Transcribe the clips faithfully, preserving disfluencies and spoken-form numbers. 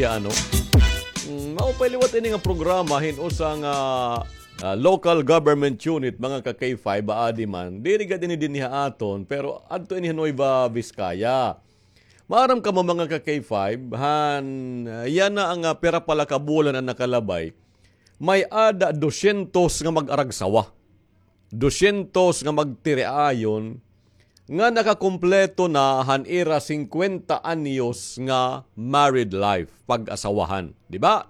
Ano? Mm, maupay liwat ini nga programa hin usa nga, ah, local government unit, mga ka K five, baadi man. Diri gad ini dinhi ha aton, pero adto ini ha Nueva Vizcaya. Maaram kamo, mga ka K five, han, ah, yana nga, ah, pira pa la ka bulan an nakalabay, may-ada dosyentos nga mag-aragsawa. Dosyentos nga magtiriayon nga nakakumpleto na han ira singkwenta anyos nga married life, pag-asawahan. Di ba?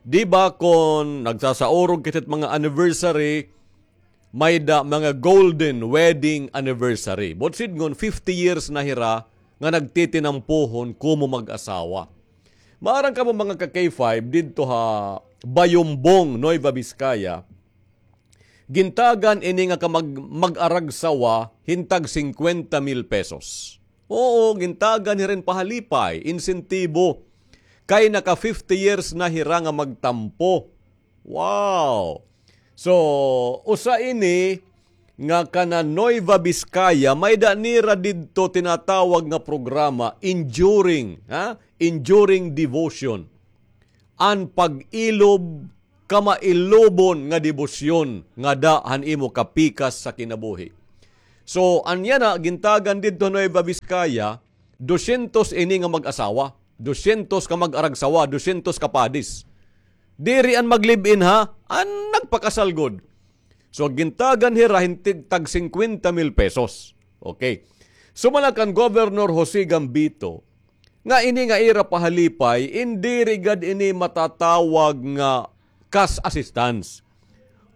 Di ba kon nagsasaurog kita hit mga anniversary, may-ada mga golden wedding anniversary. Buot sidngon, fifty years na hira nga nagtitinampuhon komo mag-asawa. Maaram kamo, mga ka K five, didto ha Bayombong, Nueva Vizcaya, gintagan ini nga kamag-, mag-aragsawa hin tag singkwenta mil pesos. Oo, gintagan hira hin pahalipay, insentibo. Kay naka fifty years na hira nga magtampo. Wow! So, usa ini nga kana Nueva Vizcaya, may-ada nira didto tinatawag nga programa, Enduring, ha? Enduring Devotion. An pag-ilob, kamailobon nga debosyon ngada han imo kapikas sa kinabuhi. So, an yana, gintagan didto Nueva Vizcaya, dosyentos ini nga mag-asawa, dosyentos ka mag-aragsawa, dosyentos ka padis. Diri an mag-live-in, ha, an nagpakasal gud. So, gintagan hira hin tig-, tag singkwenta mil pesos. Okay. Sumala kan Governor Jose Gambito, nga ini nga ira pahalipay, in diri gad ini matatawag nga cash assistance,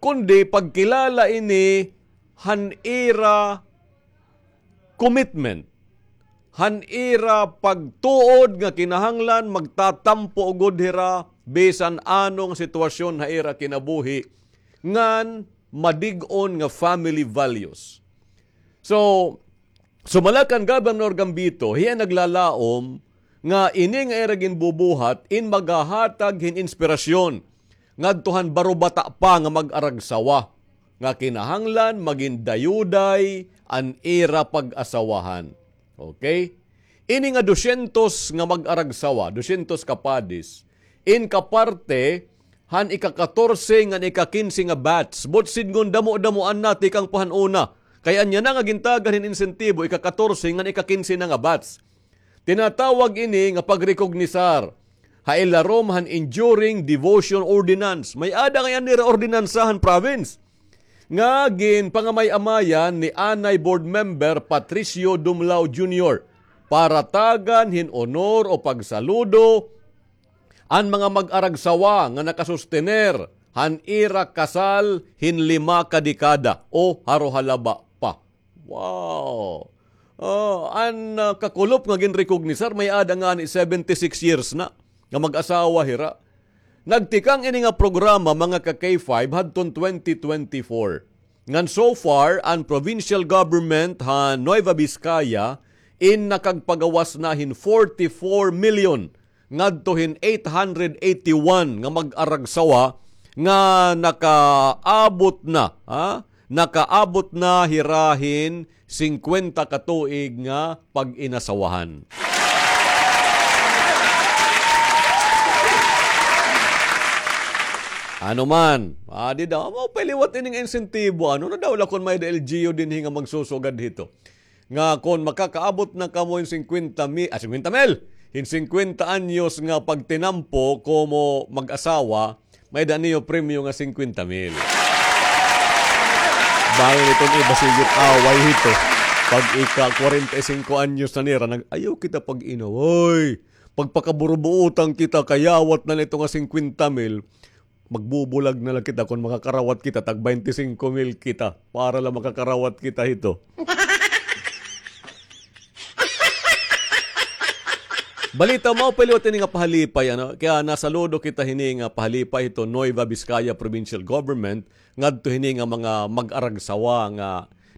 kundi pagkilala ini han ira commitment, han ira pagtuod nga kinahanglan magtatampo gud hira bisan ano nga sitwasyon ha ira kinabuhi, ngan madig-on nga family values. So, sumala kan Governor Gambito, hiya naglalaom nga ini nga ira ginbubuhat in maghahatag hin inspirasyon ngadto han barobata pa nga mag-aragsawa nga kinahanglan magin dayuday an ira pag-asawahan. Okay? Ini nga dosyentos nga mag-aragsawa, dosyentos ka padis, in kaparte han ika-katorse ngan ika-kinse nga batch. Buot sidngon damo-damoan na tikang pa han una. Kay an yana nga gintagan hin insentibo, ika-katorse ngan ika-kinse na nga batch. Tinatawag ini nga pagrekognisar ha ilarom han Enduring Devotion Ordinance. May-ada ngay-an nira ordinansa han province nga ginpangamay-amayan ni anay Board Member Patricio Dumlao Junior para tagan hin honor o pagsaludo an mga mag-aragsawa nga nakasustener han ira kasal hin lima ka dekada o haro halaba pa. Wow! Ah, an, ah, kakulop nga ginrekognisar, may-ada ngani seventy-six years na nga mag-asawa hira. Nagtikang ini nga programa, mga ka K five, hadton twenty twenty-four. Ngan so far, an provincial government ha Nueva Vizcaya in nakagpagawas na hin forty-four million ngadto hin eight hundred eighty-one nga mag-aragsawa nga nakaabot na, ha? Nakaabot na hira hin singkwenta ka tuig nga pag-inasawahan. Ano man, adi daw, maupay liwat ini nga insentibo. Ano na daw la kon may-ada L G U dinhi nga magsusugad hito? Nga kon makakaabot na kamo hin singkwenta mi-, ah, singkwenta mil, hin singkwenta anyos nga pagtinampo komo mag-asawa, may-ada niyo premyo nga singkwenta mil. Bangin iton iba, sige it away hito. Pag ika-kwarenta y singko anyos na nira, nag-, ayaw kita pag-inaway. Pagpakaburubuutan kita, kayawat na la ito nga singkwenta mil. Magbubulag na la kita kon makakarawat kita, tag baynte singko mil kita, para la makakarawat kita hito. Balita, maupay liwat ini nga pahalipay, ano? Kaya nasaludo kita hini nga pahalipay hito Nueva Vizcaya Provincial Government, ngadto hini nga mga mag-aragsawa nga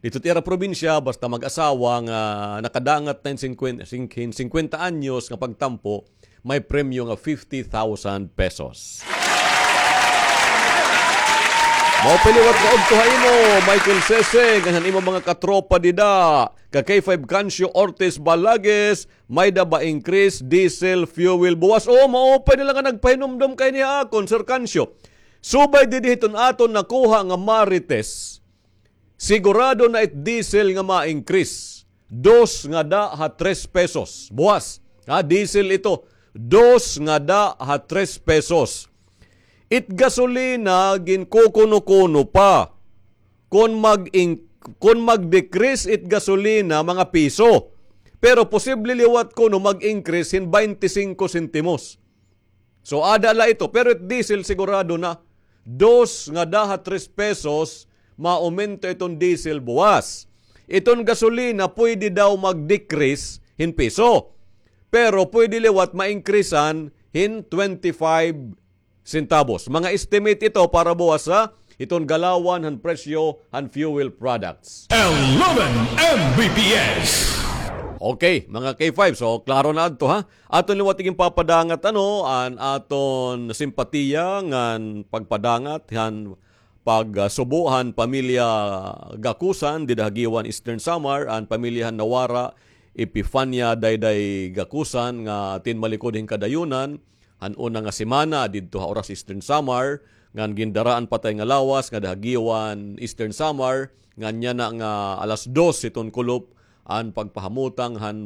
didto it ira probinsya, basta mag-asawa nga nakadangat na hin singkwen-, sing-, hin singkwenta anyos nga pagtampo, may premyo nga fifty thousand pesos. Maupay liwat nga udto ha imo, Michael Seseng, ngan han imo mga katropa dida. Ka K five Cancio Ortiz Balagues, may-ada ba increase diesel fuel buwas? Oo, maupay na la nga nagpahinumdom ka hini ha akon, Sir Cancio. Subay didi hiton aton nakuha nga Marites, sigurado na it diesel nga ma-increase. Dos ngada ha tres pesos. Buwas. Ha, diesel ito. Dos ngada ha tres pesos. It gasolina, ginkukuno-kuno pa. Kon mag-in-, kon mag-decrease it gasolina, mga piso. Pero posible liwat kuno mag-increase hin baynte singko sentimos. So, ada la ito. Pero it diesel sigurado na. Dos ngada ha tres pesos, maaumento iton diesel buwas. Iton gasolina, pwede daw mag-decrease hin piso. Pero pwede liwat ma-increasean hin twenty-five centavos. Mga estimate ito para buwas ha iton galawan han presyo han fuel products. Eleven M B P S. Okay, mga K five. So, klaro na adto, ha? Aton liwat iginpapadangat, ano, an aton simpatiya ngan pagpadangat han pagsubo han pamilya Gakusan dida ha Guiuan, Eastern Samar, an pamilya han nawara, Epifania Dayday Gakusan, nga tinmalikod hin kadayunan han una nga semana didto ha Oras, Eastern Samar, ngan gindaraan patay nga lawas ngada ha Guiuan, Eastern Samar, ngan yana nga alas dos hiton kulop an pagpahamutang han